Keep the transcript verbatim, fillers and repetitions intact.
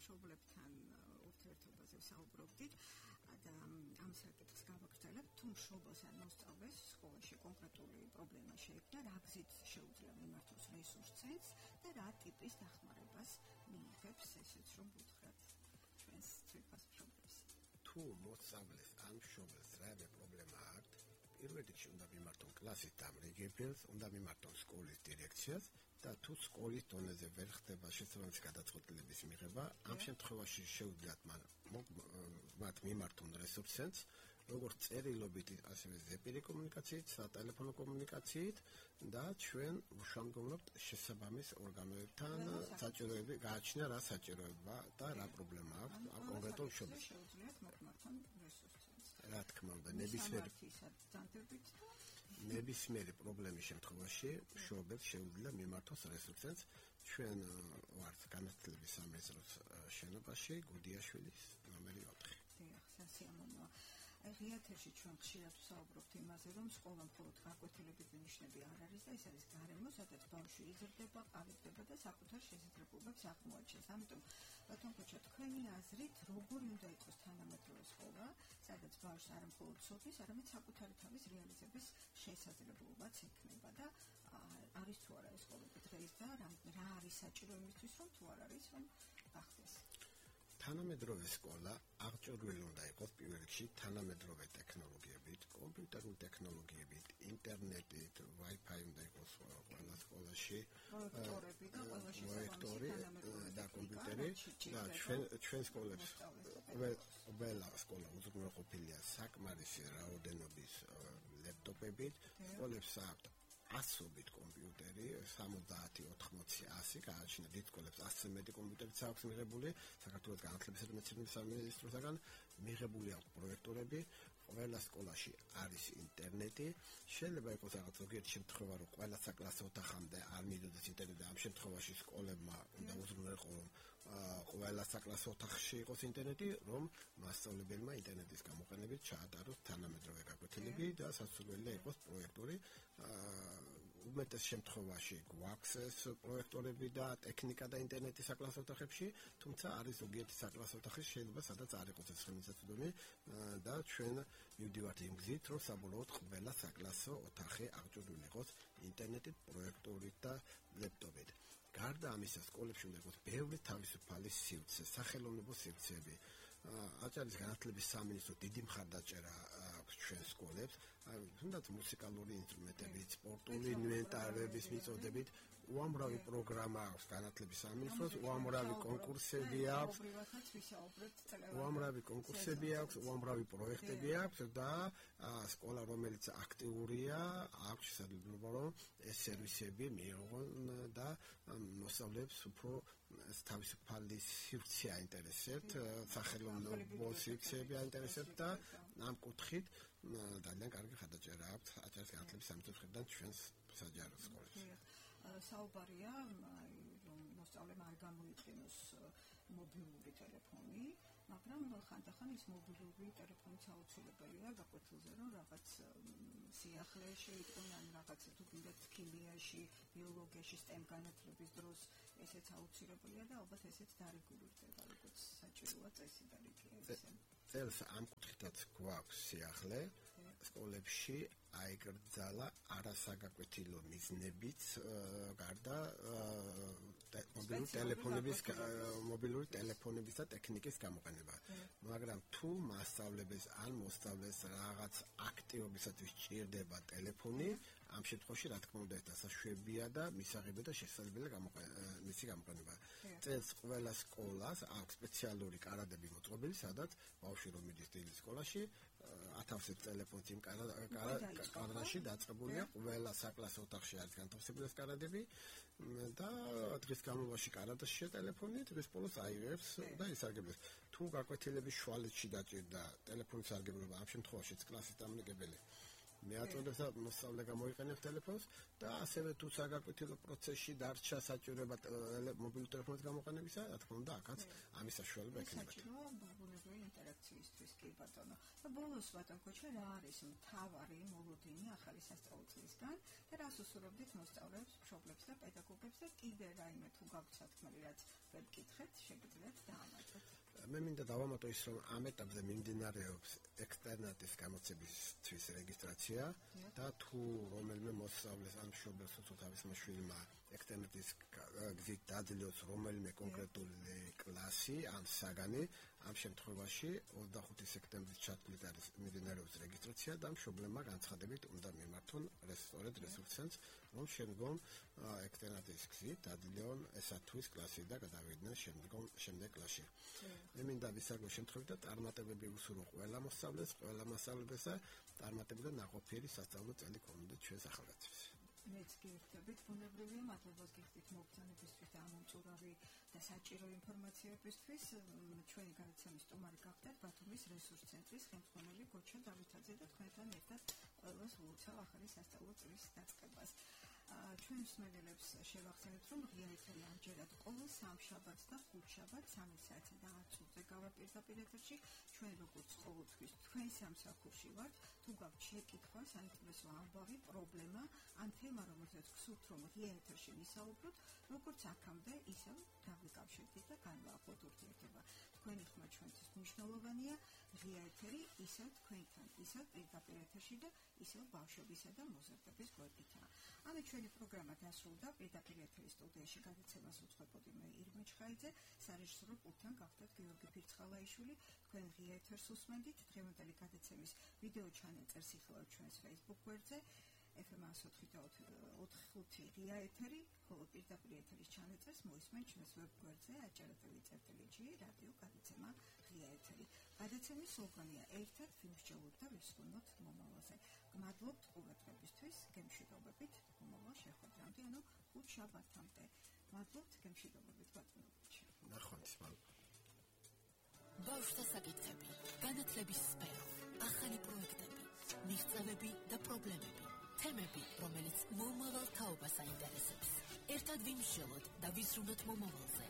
მშობლებთან ურთიერთობაზე ვსაუბრობდით და ამ საკითხს გავაგრძელებთ, თუ მშობელს ან მოსწავლეს სკოლაში კონკრეტული პრობლემა შეექმნა, რა გზით შეუძლია მიმართოს რესურს ცენტრს და რა ტიპის დახმარებას მიიღებს, ესეც რომ ვუთხრათ ჩვენს თვითონ მშობლებს. თუ მოსწავლეს ან მშობელს რაიმე პრობლემა აქვს, პირველ რიგში უნდა მიმართონ კლასის დამრიგებელს, უნდა მიმართონ სკოლის დირექციას და თუ სკოლის დონეზე ვერ ხდება შესაბამისი გადაწყვეტილების მიღება, ამ შემთხვევაში შეუძლიათ მათ მიმართონ რესურს ცენტრს, როგორც წერილობით, ასევე ზეპირი კომუნიკაციით, სატელეფონო კომუნიკაციით და ჩვენ ვშუამდგომლობთ შესაბამის ორგანოებთან საჭიროები გააჩნია რა საჭიროება და რა პრობლემა აქვს ამ კონკრეტულ მშობელს. შეუძლიათ მოკმართონ რესურს ცენტრს. რა თქმა უნდა, ნებისმიერი ნებისმიერი პრობლემის შემთხვევაში მშობელს შეუძლია მიმართოს რესურს ცენტრს. ჩვენ ვართ განათლების სამინისტროს შენობაში, გუდიაშვილის ნომერი ოთხი. დიახ, სასიამოვნოა. ღიათებში ჩვენ ხშირად ვსაუბრობთ იმაზე, რომ სკოლა მხოლოდ გაკვეთილების ნიშნები არ არის და ეს არის გარემო, სადაც ბავშვი იზრდება, ყალიბდება და საკუთარ შესაძლებლობებს აღმოაჩენს. ამიტომ, ბატონ ქოჩა, თქვენი აზრით, როგორი უნდა იყოს თანამედროვე სკოლა, სადაც ბავშვს არა მხოლოდ სოფლის, არამედ საკუთარი თავის რეალიზების შესაძლებლობაც ექნება და არის თუ არა ეს სკოლები დღეს და რა არის საჭირო იმისთვის, რომ თუ არ არის, რომ გახდეს. თანამედროვე სკოლა აღჭურვილი უნდა იყოს პირველ რიგში თანამედროვე ტექნოლოგიებით, კომპიუტერული ტექნოლოგიებით, ინტერნეტით, Wi-Fi უნდა იყოს ყველა სკოლაში, პროექტორი და კომპიუტერი და ჩვენ ჩვენ სკოლებს ყველა სკოლა უზრუნველყოფილია საკმარისი რაოდენობის ლეპტოპებით, სკოლებს აქვთ ასობით კომპიუტერი, სამოცდაათი, ოთხმოცი, ასი, გააჩნია დიდ სკოლებს ასზე მეტი კომპიუტერიც აქვს მიღებული, საქართველოს განათლებისა და მეცნიერების სამინისტროსაგან მიღებული აქვს პროექტორები, ყველა სკოლაში არის ინტერნეტი, შეიძლება იყოს რაღაც ზოგიერთი შემთხვევა, რომ ყველა საკლასო ოთახამდე არ მიიდოდეს ინტერნეტი, ამ შემთხვევაში სკოლებმა უნდა უზრუნველყო, რომ ყველა საკლასო ოთახში იყოს ინტერნეტი, რომ მასწავლებელმა ინტერნეტის გამოყენებით ჩაატაროს თანამედროვე გაკვეთილები და სასურველია იყოს პროექტორი. უმეტეს შემთხვევაში გვაქვს ეს პროექტორები და ტექნიკა და ინტერნეტი საკლასო ოთახებში, თუმცა არის ზოგიერთი საკლასო ოთახი შეიძლება სადაც არ იყოს ეს ხელმისაწვდომი და ჩვენ მივდივართ იმ გზით, რომ საბოლოოდ ყველა საკლასო ოთახი აღჭურვილი იყოს ინტერნეტით, პროექტორით და ლეპტოპით. გარდა ამისა, სკოლებში უნდა იყოს ბევრი თავისუფალი სივრცე, სახელოვნებო სივრცეები. აჭარის განათლების სამინისტრო დიდი მხარდაჭერა აქვს ჩვენ სკოლებს, თუნდაც მუსიკალური ინსტრუმენტებით, სპორტული ინვენტარების მიწოდებით, უამრავი პროგრამა აქვს განათლების სამინისტროს, უამრავი კონკურსები აქვს, უამრავი კონკურსები აქვს, უამრავი პროექტები აქვს და სკოლა, რომელიც აქტიურია, აქვს შესაძლებლობა, რომ ეს სერვისები მიიღონ და მოსწავლეებს უფრო თავისუფალი სივრცე აინტერესებთ, სახელოვნებო სივრცეები აინტერესებთ და ამ კუთხით ძალიან კარგი მხარდაჭერა აქვს აჭარის განათლების სამინისტროს მხრიდან ჩვენს საჯარო სკოლებში. საუბარია, რომ მოსწავლემ არ გამოიყენოს მობილური ტელეფონი, მაგრამ ხანდახან ის მობილური ტელეფონიც აუცილებელია გაკვეთილზე, რომ რაღაც სიახლეში იყვნენ, ან რაღაც თუ გინდათ ქიმიაში, ბიოლოგიაში, STEM განათლების დროს ესეც აუცილებელია და ალბათ ესეც დარეგულირდება, როგორც საჭიროა წესი და რიგები. წელს ამ კუთხითაც გვაქვს სიახლე სკოლებში აიგრძალა არასაგაკვეთილო მიზნებიც გარდა მობილური ტელეფონების მობილური ტელეფონების და ტექნიკის გამოყენება. მაგრამ თუ მასწავლებელს ან მოსწავლეს რაღაც აქტივობისათვის სჭირდება ტელეფონი, ამ შემთხვევაში რა თქმა უნდა ეს დასაშვებია და მისაღებია და შესაძლებელია მისი გამოყენება. წელს ყველა სკოლას აქვს სპეციალური კარადები მოწყობილი, სადაც ბავშვი რომ მიდის დილის სკოლაში, ათავსებს ტელეფონს იმ კარადაში დაწყებულია, ყველა საკლასო ოთახში არის განთავსებული ეს კარადები და დღის განმავლობაში კარადაში ტელეფონი დღის ბოლოს აიღებს და ისარგებლებს. თუ გაკვეთილების შუალედში დაჭირდა ტელეფონის სარგებლობა, ამ შემთხვევაშიც კლასის დამნელებელი მეაწოდებს და მოსწავლე გამოიყენებს ტელეფონს და ასევე თუ საგაკვეთილო პროცესში დარჩა საჭიროება მობილური ტელეფონის გამოყენებისა, რა თქმა უნდა, აქაც ამის საშუალება ექნება. საჭიროა ბუნებრივი ინტერაქციისთვის კი ბატონო. და ბოლოს ბატონ ქოჩა რა არის მთავარი მოლოდინი ახალი სასწავლო წლისგან და რას უსურვებდით მოსწავლეებს, მშობლებს და პედაგოგებს და კიდე რაიმე თუ გაქვთ სათქმელი რაც ვერ გკითხეთ, შეგიძლიათ დაამატოთ. მე მინდა დავამატო ის, რომ ამ ეტაპზე მიმდინარეობს ექსტერნატის გამოცებისთვის რეგისტრაცია და თუ რომელიმე მოსწავლეს ან მშობელს თუ თავის მშვილმა ექსტერნატის გზით დაძლევს რომელიმე კონკრეტული კლასი ან საგანი, ამ შემთხვევაში ოცდახუთი სექტემბრის ჩათვლით არის მიმდინარეობს რეგისტრაცია და მშობლებმა განცხადებით უნდა მიმართონ სწორედ რესურს ცენტრს, რომ შემდგომ ექსტერნატის გზით დაძლევონ ესათვის კლასი და გადავიდნენ შემდგომ შემდეგ კლასში. მე მინდა ვისაუბროთ შემთხვევით და წარმატებები უსურვო ყველა მოსწავლეს, ყველა მასწავლებელს და წარმატებული და ნაყოფიერი სასწავლო წელი გქონოდეთ ჩვენს ახალგაზრდებს. მეც გიხდებით ბუნებრივია, მადლობას გიხდით მოგზაურობისთვის და ამომწურავი და საჭირო ინფორმაციებისთვის. ჩვენი განაცემის სტუმარი გახდათ ბათუმის რესურს ცენტრის ხელმძღვანელი გოჩა დავითაძე და თქვენთან ერთად ყველას ულოცავ ახალი სასწავლო წლის დაწყებას. ჩვენ მსმენელებს შევახსენებთ, რომ ღია ეთერი ამჯერად ყოველ სამშაბათს და ხუთშაბათს სამი საათსა და ათ წუთზე გავაპირდაპირ ეთერში. ჩვენ როგორც ყოველთვის თქვენ სამსახურში ვართ. თუ გაქვთ შეკითხვა, საინტერესო ამბავი, პრობლემა ან თემა, რომელზეც გსურთ, რომ ღია ეთერში ვისაუბროთ, როგორც აქამდე, ისევ დავიკავშირდით და განვაახლოთ ურთიერთობა. თქვენი ხმა ჩვენთვის მნიშვნელოვანია. ღია ეთერი ისევ თქვენთან, ისევ პირდაპირ ეთერში და ისევ ბავშვებისა და მოზარდების გვერდითაა. ამე ჩვენი პროგრამა დასრულდა. პირდაპირ ეთერის სტუდიაში გადაცემას უძღვებოდი მე ირმე ჩხაიძე, სარეჟისორო პულტთან გახდათ გიორგი ფირცხალაიშვილი. თქვენ ღია ეთერს უსმენდით. დღევანდელი გადაცემის ვიდეო ჩანაწერს იხილავთ ჩვენს Facebook გვერდზე. ეფ ემ ოთხი და ოთხი ხუთი ღია ეთერი, ხოლო პირდაპირ ეთერის ჩანაწერს მოისმენთ ჩვენს ვებ გვერდზე აჭარათელი წერტილი ჯი რადიო გადაცემა ღია ეთერი. გადაცემის სლოგანია ერთად ვიმსჯელოთ და ვისვენოთ მომავალზე. გმადლობთ ყურადღებისთვის, გემშვიდობებით, მომავალ შეხვედრამდე, ანუ ხუთ შაბათამდე. მადლობთ, გემშვიდობებით ბატონო. ნახვამდის მადლობა. ბავშვთა საკითხები, განათლების სფერო, ახალი პროექტები, მიღწევები და პრობლემები, თემები, რომელიც მომავალ თაობას აინტერესებს. ერთად ვიმსჯელოთ და ვიზრუნოთ მომავალზე.